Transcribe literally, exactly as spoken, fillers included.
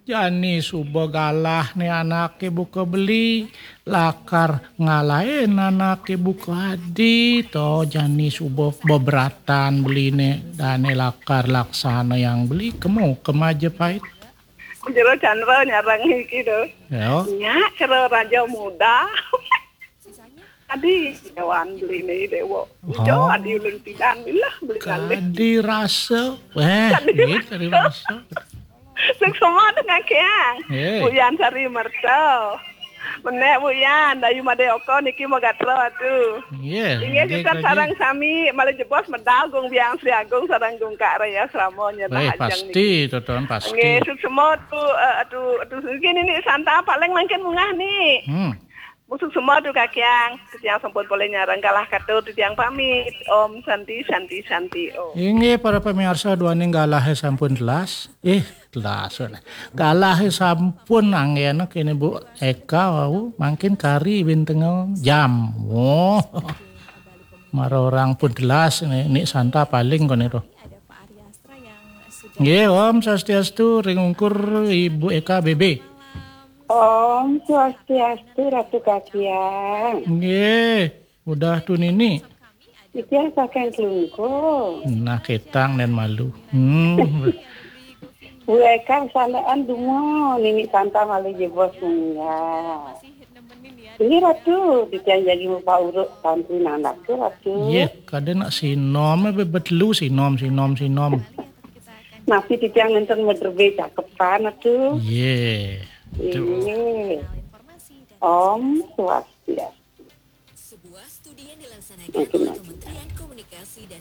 Jani suba galah né anaké buka beli, lakar ngalahin anaké buka adi, to jani suba beberatan beliné, dané lakar laksana yang beli, kemu ke Majapahit. Jero Chandra nyarang iki to. Ya. Nyak kero raja muda. Adi, dewan beliné dewa. Ijo, oh, adi ulun pidan, bilah beli kalih. Kadi rasa. Eh, kadi gitu, kadi rasa. Suksma dengan kiang. Eh. Buyan Sari Merta. Menek Buyan, Dayu Made Oko niki magatra atu. Iya. Inggih, inggih, sareng sami, malih jebos medal Gung Biang Sri Agung sareng Gung Kak Raya Srama nyedah. Eh, ajeng pasti, niki. Toton, pasti. Inggih, suksma tu, eh, atu, atu, niki nini Santa paling mangkin munggah ni. Hmm. Musuk semua tu kakiang, titiang sampun polih nyarang galah katur, titiang pamit. Om Santi, Santi, Santi, Om. Inggih, para pamiarsa, duaning galahé sampun telas. Eh, telas. Galahé sampun anggéna kéné Bu Eka wau, mangkin kari bintenga jam. Oh. Mara orang pun telas né, Nik Santa paling koné to. Nggih, Om Swastiastu, ring ungkur Ibu Eka B B. Om Swastiastu, Ratu Kakiang. Nggih, udah tu nini. Titiang saking Klungkung. Nah, ketang dan malu. Hmm. Bu Eka salaan dumun, nini Santa malih jebos munggah. Ini Ratu, titiang jagi mupauruk santri anak tu, Ratu. Yeh, kada nak sinom, eh, bebetelu sinom, sinom, sinom. Nasi titiang nenten mederbe cakepan, Ratu. Yeh. Tu. Iya. Om Swastiastu. Sebuah studi yang dilaksanakan oleh Kementerian Komunikasi dan